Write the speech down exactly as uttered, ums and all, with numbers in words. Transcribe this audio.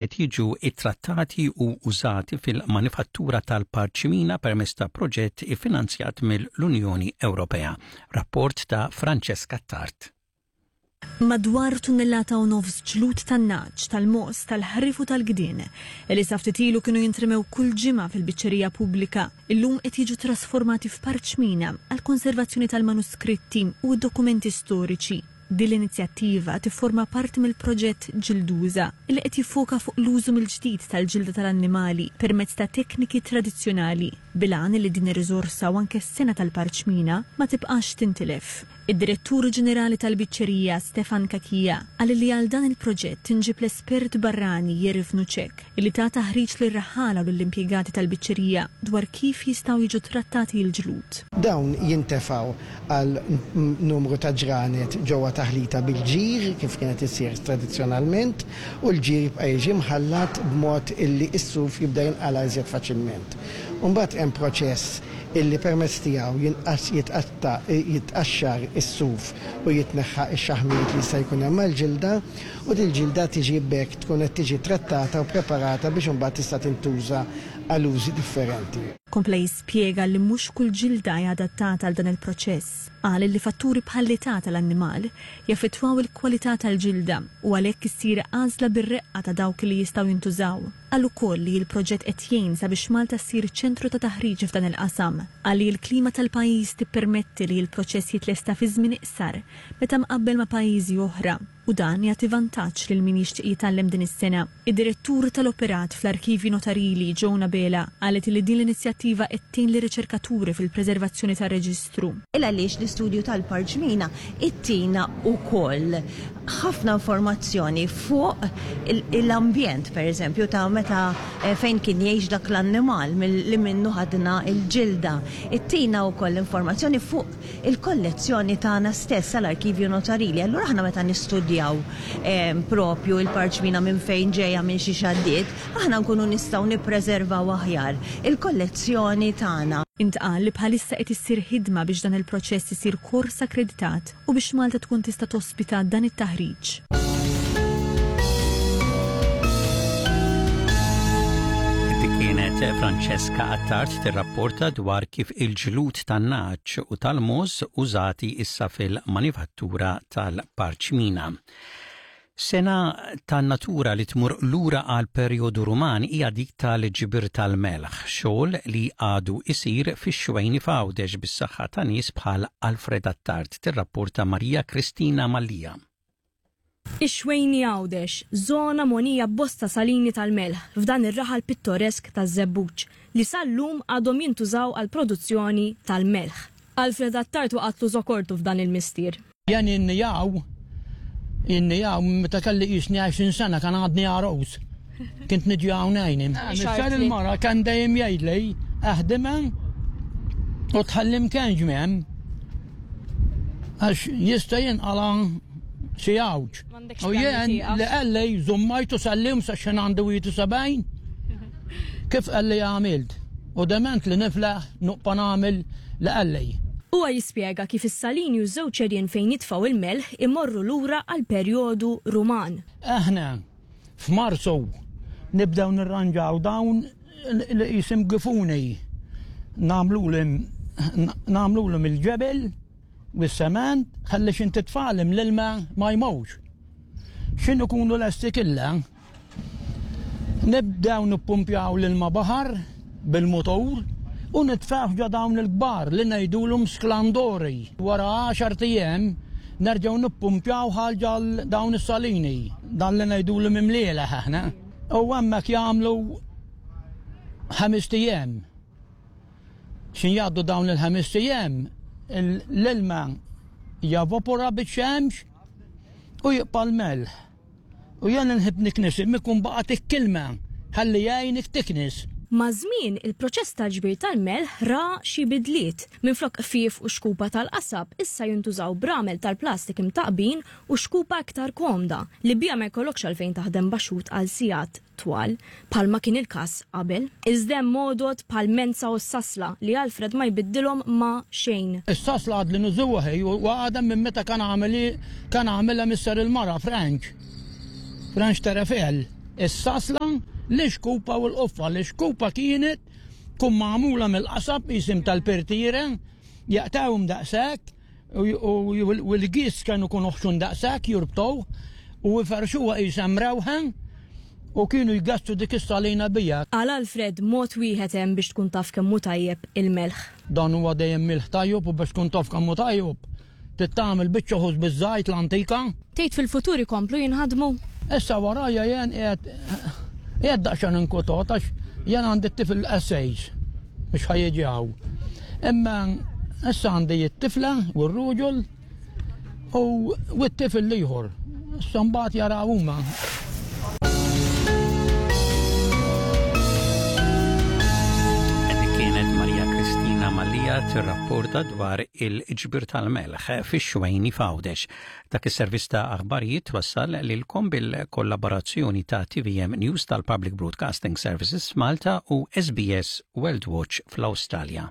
Qed jiġu ittrattati u użati fil-manifattura tal-parċmina permezz ta' proġett iffinanzjat mill-Unjoni Ewropea. Rapport ta' Francesca Tart. Madwar tunnellata u nofs ġlud tan-nagħaġ, tal-mogħoż, tal-ħrief u tal-gdien, li sa ftit ilu kienu jintremew kull ġimgħa fil-biċċerija pubblika, illum qed jiġu trasformati f'parċmina għall-konservazzjoni tal-manuskritti u d-dokumenti storiċi. Din l-inizjattiva tifforma parti mill-proġett Ġilduża, li qed jiffoka fuq l-użu mill-ġdid tal-ġilda tal-annimali permezz ta' tekniki tradizzjonali, bil-għan li din ir-riżorsa u anke s-sengħa tal-parċmina ma tibqax tintilef. Id-Direttur Ġenerali tal-Biċċerija Stefan Cachia qal li għal dan il-proġett inġib l-espert barrani Jiří Vnoucek, li ta taħriġ lir-raħħala u lill-impjegati tal-biċċerija dwar kif jistgħu jiġu trattati l-ġlud. Dawn jintefgħu għal numru ta' ġranet ġewwa taħlita bil-ġir kif kienet issir tradizzjonalment, u l-ġir jibqa' jiġi mħallat b'mod illi s-suf jibda jinqala iżjed faċilment. Imbagħad hemm proċess illi permezz tiegħu jinqas jitqatta jitqaxxar is-suf u jitneħħa x-xaħmijiet li jista' jkun hemm mal-ġilda, u dil-ġilda tiġi b'hekk tkun qed tiġi trattata u preparata biex imbagħad tista' tintuża għal użi differenti. Kompla jispjega li mhux kull ġilda hija adattata għal dan il-proċess. Qal li fatturi bħall-età tal-annimal jaffettwaw il-kwalità tal-ġilda u għalhekk issir għażla bir-reqqa ta' dawk li jistgħu jintużaw. Qal ukoll li l-proġett qed jgħin sabiex Malta ssir ċentru ta' taħriġ f'dan il-qasam. Qal li l-klima tal-pajjiż tippermetti li l-proċess jitlesta fi żmien iqsar meta mqabbel ma' pajjiżi oħra, u dan jagħti vantaġġ lil min jixtieq jitgħallem din is-sengħa. Id-direttur tal-operat fl-Arkivji Notarili Joan Abela qalet li din l-inizjattiva qed tgħin lir-riċerkaturi fil-preservazzjoni tar-reġistru. Il għaliex l-istudju tal-parċmina ittina wkoll ħafna informazzjoni fuq l-ambjent, per eżempju, ta' meta eh, fejn kien jgħix dak l-annimal li minnu ħadna il-ġilda. Ittina wkoll informazzjoni fuq il-kollezzjoni tagħna stess tal-Arkivju Notarili. Allura aħna meta nistudjaw eh, propju il-parċmina minn fejn ġejja, minn xi xaddiet, aħna nkunu nistgħu nippreservaw aħjar il-kollezzjoni tagħna. Intqal li bħalissa qed issir ħidma biex dan il-proċess isir kors akkreditat u biex Malta tkun tista' tospita dan it-taħriġ. Dik kienet Francesca Attard tirrapporta dwar kif il-ġlud tan-nagħaġ u tal-mogħoż użati issa fil-manifattura tal-parċmina. Sengħa tan-natura li tmur lura għal perjodu Ruman hija dik tal-ġbir tal-melħ, xogħol li għadu isir fix-Xwejni f'Għawdex bis-saħħa ta' nies bħal Alfred Attard, tirrapporta Maria Kristina Mallia. Ix-Xwejni Għawdex, żona mogħnija b'bosta salini tal-melħ f'dan ir-raħal pittoresk taż-Żebbuġ li sal-lum għadhom jintużaw għal produzzjoni tal-melħ. Alfred Attard waqatlu żokortu f'dan il-mistier. Jien innijaw, innijaw, meta kelli jisni għoxrin sena kan għadni għarus. Kint niġi hawn għajni. Missier il-mara kan dejjem jgħidli aħdimha u tħallim kien ġmiem għax jista' jinqala xi għawġ. U jien li qalli żommajtu sal-lum sa xejn għandu wieħed u sebgħin. Kif qalli għamilt? U dement li niflaħ nuqpa nagħmel li qalli. Huwa jispjega kif is-salini u żewġ għerien fejn jitfgħu il-melħ imorru lura għal perjodu Ruman. Aħna f'Marzu nibdew nirranġaw dawn li jisim gifuni. Nagħmluhom il-ġebel u s-sement ħalli xin titfalem l-ilma ma jmewx. Xin ikunu lesti killa, nibdew nippumpjaw l-ilma baħar bil-motor u nitfaħ ġo dawn il-kbar li ngħidulhom sklandori. Wara għaxart ijiem nerġgħu nippumpjaw ħal dawn is-salini, dan li ngħidulhom imliela aħna. U hemmhekk jagħmlu ħamest ijiem. Xin jgħaddu dawn il-ħamest ijiem, l-ilma javapora biċ-xemx u jibqa' l-melħ. U jien nħib niknis, mikun baqgħet il-kilma ħalli jgħinik tiknis. Maż-żmien, il-proċess tal-ġbir tal-melħ ra xi bidliet. Minflok qfief u xkupa tal-qasab, issa jintużaw bramel tal-plastik imtaqbin u xkupa iktar komda li bija ma jkollokx għalfejn taħdem baxut għal sigħat twal, bħalma kien il-każ qabel. Iżda hemm għodod bħal menza u s-sasla li Alfred ma jbiddilhom ma xejn. Is-sasla għad li nużuha hi u għadha minn meta kan għameli kan għamilha missier il-mara French. French Terefel. Is-sasla, l-ixkupa u l-qoffa. L-ixkupa kienet tkun magħmula mill-qasab jisim tal-pertire, jaqtawhom daqshekk u l-gis kienu kun oħxun daqshekk jurbtow u jferxuha qisha mrewħa u kienu jgassu dik is-salina bija. Għal Alfred, mod wieħed hemm biex tkun taf kemm hu tajjeb il-melħ. Dan huwa dejjem milħ tajjeb u biex tkun taf kemm hu tajjeb trid tagħmel biċċa ħobż biż-żajt l-antika. Tgħid fil-futur ikomplu jinħadmu? Issa warajja jien qiegħed qiegħed daqsxejn inkwetat għax jien għandi t-tifel essays mhux ħa jiġi hawn. Imma issa għandi t-tifla u r-ruġul u t-tifel l-ieħor. Issa mbagħad jaraw huma. Dik kienet Maria Kristina Mallia tirrapporta dwar il-ġbir tal-melħ fix-Xwejni f'Għawdex. Dak is-servizz ta' aħbarijiet wassal lilkom bil-kollaborazzjoni ta' T V M News tal-Public Broadcasting Services Malta u S B S World Watch fl-Awstralja.